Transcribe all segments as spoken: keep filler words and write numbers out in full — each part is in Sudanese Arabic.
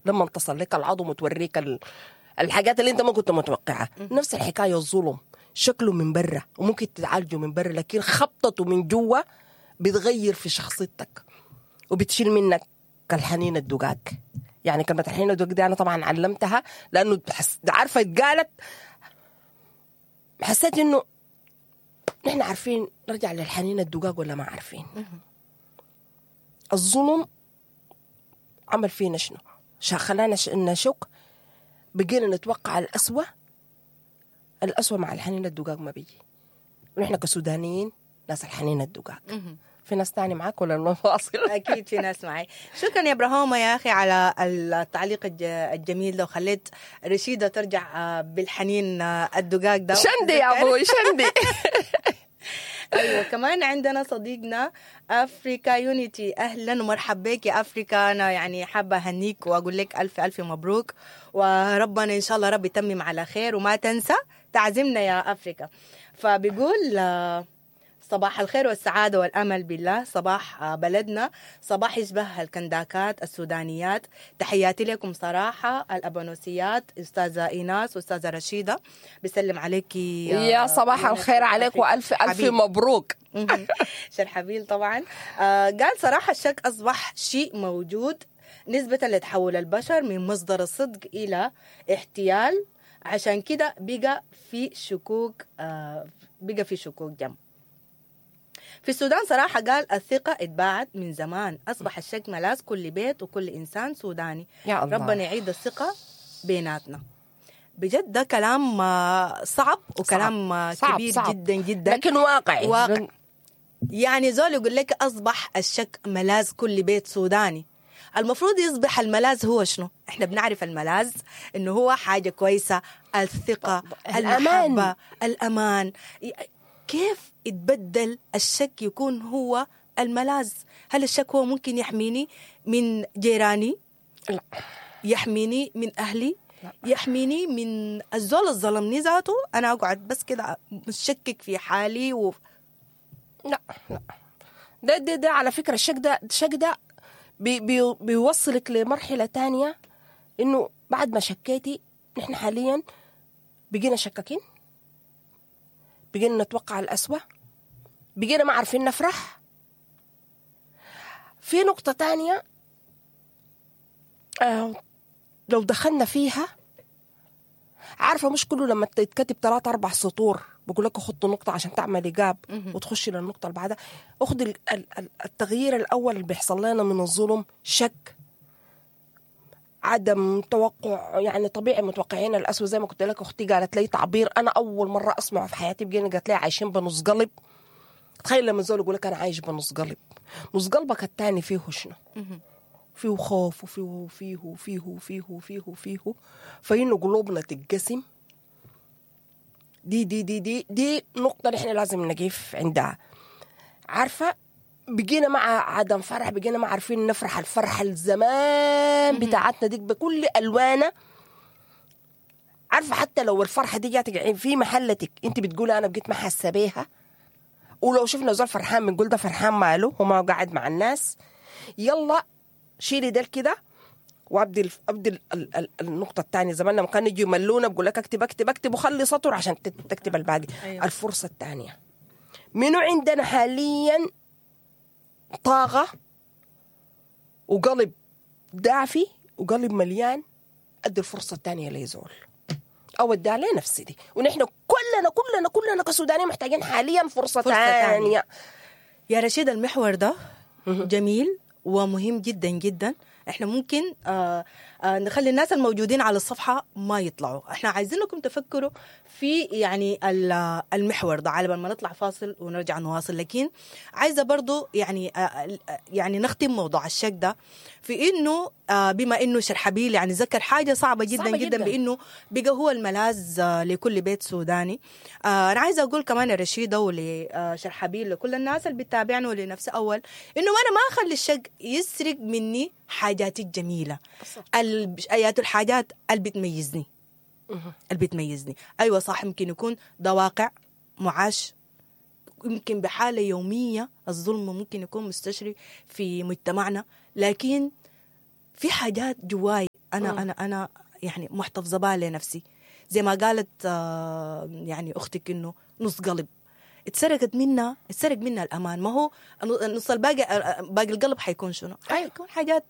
لما تصل لك العظم وتوريك ال- الحاجات اللي انت ما كنت متوقعها. نفس الحكاية الظلم شكله من برا وممكن تتعالجه من برا، لكن خبطته من جوا بتغير في شخصيتك وبتشيل منك الحنين الدقاق. يعني كلمة الحنين الدقاق دي أنا طبعا علمتها لأنه حس... عارفة اتقالت، حسيت إنه نحن عارفين نرجع للحنين الدقاق ولا ما عارفين. الظلم عمل فينا شنو؟ خلانا نشك، بقينا نتوقع الأسوأ. الأسوأ مع الحنين الدقاق ما بيجي، ونحن كسودانيين ناس الحنين الدقاق. في ناس تاني معاك ولا نواصل؟ اكيد في ناس معي. شكرا يا ابراهومه يا اخي على التعليق الجميل ده، وخليت رشيده ترجع بالحنين الدقاق ده. شندي يا ابوي شندي. ايوه كمان عندنا صديقنا افريكا يونيتي، اهلا ومرحبا بك يا افريكا. انا يعني حابة اهنيك واقول لك الف الف مبروك، وربنا ان شاء الله رب يتمم على خير، وما تنسى تعزمنا يا افريكا. فبيقول صباح الخير والسعادة والأمل بالله، صباح بلدنا، صباح يشبه الكنداكات السودانيات. تحياتي لكم صراحة الأبانوسيات، أستاذة إيناس وأستاذة رشيدة، بسلم عليك يا صباح الخير عليك وألف ألف مبروك. شرحبيل طبعا. آه قال صراحة الشك أصبح شيء موجود نسبة لتحول البشر من مصدر الصدق إلى احتيال، عشان كده بقى في شكوك، آه بقى في شكوك جم في السودان. صراحة قال الثقة اتباعت من زمان، أصبح الشك ملاذ كل بيت وكل إنسان سوداني. يا الله. ربنا يعيد الثقة بيناتنا. بجد ده كلام صعب وكلام صعب. كبير صعب. جدا جدا، لكن واقعي واقع. يعني زول يقول لك أصبح الشك ملاذ كل بيت سوداني، المفروض يصبح الملاذ هو شنو؟ احنا بنعرف الملاذ انه هو حاجة كويسة، الثقة، المحبة، الأمان. كيف يتبدل الشك يكون هو الملاذ؟ هل الشك هو ممكن يحميني من جيراني؟ لا. يحميني من أهلي؟ لا. يحميني من الزول الظلمني ذاته؟ أنا أقعد بس كده مشكك في حالي و... لا لا ده ده ده على فكرة الشك ده الشك ده بي بي بيوصلك لمرحلة تانية، إنه بعد ما شكيتي نحن حاليا بقينا شكاكين، بقينا نتوقع الأسوأ، بقينا ما عارفين نفرح. في نقطة تانية آه لو دخلنا فيها، عارفة مش كله لما تتكتب ثلاثة أربع سطور بقول لك خط نقطة عشان تعمل إجاب وتخشي للنقطة اللي بعدها. أخذ التغيير الأول اللي بيحصل لنا من الظلم شك، عدم توقع، يعني طبيعي متوقعين الأسوأ. زي ما كنت لك أختي قالت لي تعبير أنا أول مرة أسمعه في حياتي، بقينا قالت لي عايشين بنص قلب. تخيل لما زول يقول لك أنا عايش بنص قلب، نص قلبك الثاني فيه شنو؟ فيه خوف وفيه فيه فيه فيه فيه فيه فإنه قلوبنا تتقسم. دي دي دي دي دي نقطة نحن لازم نقف عندها. عارفة بقينا مع عدم فرح، بقينا ما عارفين نفرح الفرحة الزمان بتاعتنا دي بكل ألوانها. عارفة حتى لو الفرحة دي جاتك في محلتك انت بتقولي أنا بقيت ما حاسة بيها، ولو شفنا زول فرحان بنقول ده فرحان ماله وما قاعد مع الناس. يلا شيلي ده كده وابدي ابدي النقطة الثانية. زمان لما كانوا يجوا يملونا بقول لك اكتب اكتب اكتب وخلي سطر عشان تكتب الباقي. أيوة. الفرصة الثانية منو عندنا حاليا طاقة وقلب دافي وقلب مليان؟ أدي الفرصة الثانية ليزول أو أديها لنفسي دي. ونحن كلنا كلنا كلنا كسودانيين محتاجين حاليا فرصة, فرصة ثانية. يا رشيد المحور ده جميل ومهم جدا جدا. احنا ممكن آه آه نخلي الناس الموجودين على الصفحة ما يطلعوا، احنا عايزينكم تفكروا في يعني المحور ده على بال ما نطلع فاصل ونرجع نواصل. لكن عايزة برضو يعني آه يعني نختم موضوع الشك ده في انه آه بما انه شرحبيل يعني ذكر حاجة صعبة جدا صعبة جدا, جداً بانه بقى هو الملاذ آه لكل بيت سوداني. آه انا عايزة اقول كمان رشيدة ولشرحبيل لكل الناس اللي بتتابعنا ولنفسي اول، انه انا ما اخلي الشك يسرق مني حاجاتي الجميلة، ايات الحاجات اللي بتميزني اللي بتميزني. ايوه صح، يمكن يكون ده واقع معاش، يمكن بحاله يومية الظلم ممكن يكون مستشري في مجتمعنا، لكن في حاجات جواي انا مم. انا انا يعني محتفظة بها لنفسي، زي ما قالت آه، يعني اختك انه نص قلب اتسرقت منا، اتسرق منا الامان. ما هو النص الباقي، آه، باقي القلب حيكون شنو؟ أيوة. حيكون حاجات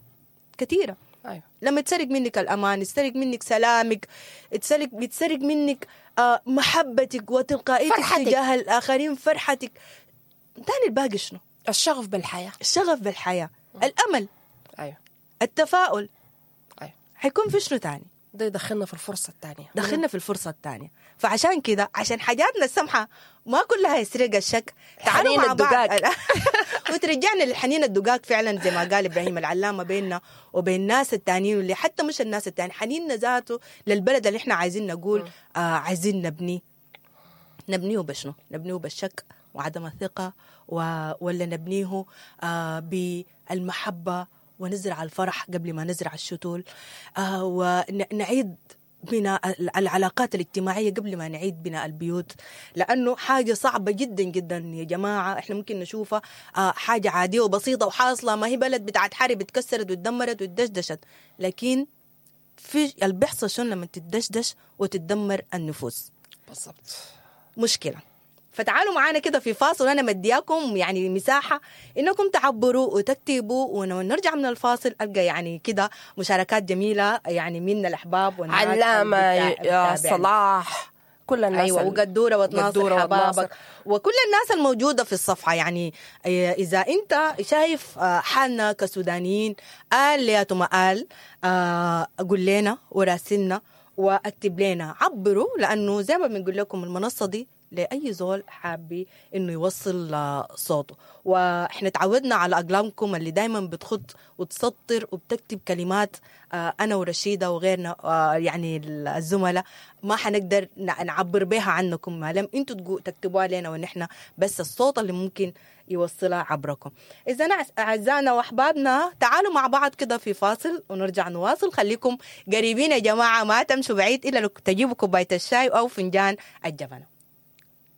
كثيرة. ايوه لما يتسرق منك الامان، يتسرق منك سلامك، يتسرق يتسرق منك آه، محبتك وتلقائيتك فرحتك. تجاه الاخرين، فرحتك. تاني الباقي شنو؟ الشغف بالحياة. الشغف بالحياة، الامل، ايوه التفاؤل. ايوه حيكون في شنو تاني؟ ده يدخلنا في الفرصة الثانية. دخلنا في الفرصة الثانية. فعشان كده، عشان حاجاتنا السمحة ما كلها يسرق الشك، تعالوا حنين مع بعض الدقاق. وترجعنا للحنين الدقاق فعلا زي ما قال ابراهيم العلامة، بيننا وبين الناس التانيين، واللي حتى مش الناس التانيين، حنيننا ذاته للبلد اللي احنا عايزين نقول آه عايزين نبنيه. نبنيه بشنو؟ نبنيه بالشك وعدم الثقة و... ولا نبنيه آه بالمحبة ونزرع الفرح قبل ما نزرع الشتول، آه ونعيد بناء العلاقات الاجتماعية قبل ما نعيد بناء البيوت، لأنه حاجة صعبة جدا جدا يا جماعة. احنا ممكن نشوفها آه حاجة عادية وبسيطة وحاصلة، ما هي بلد بتاعت حرب اتكسرت واتدمرت واتدشدشت، لكن في اللي بيحصل شنو لما تدشدش وتتدمر النفوس؟ بالضبط مشكلة. فتعالوا معانا كده في فاصل، وانا مدياكم يعني مساحة انكم تعبروا وتكتبوا، ونرجع من الفاصل القى يعني كده مشاركات جميلة يعني من الاحباب والناس علامة اللي يا بتابعنا. صلاح، كل الناس ايوه ال- وقدوره وتناصر قدورة وتناصر. حبابك وكل الناس الموجودة في الصفحة. يعني إيه، اذا انت شايف آه، حالنا كسودانيين آل يا ما آل، آه، قول لنا وراسلنا واكتب لنا، عبروا، لانه زي ما بنقول لكم المنصة دي لاي زول حابي انه يوصل آه، صوته. واحنا تعودنا على اقلامكم اللي دايما بتخط وتسطر وبتكتب كلمات، آه، انا ورشيده وغيرنا آه، يعني الزملاء ما حنقدر نع- نعبر بها عنكم ما لم انتوا تقو- تكتبوها لنا، ونحن بس الصوت اللي ممكن يوصلها عبركم. اذا اعزائنا واحبابنا تعالوا مع بعض كده في فاصل ونرجع نواصل. خليكم قريبين يا جماعة، ما تمشوا بعيد الا لو تجيبوا كوباية الشاي او فنجان الجبنة.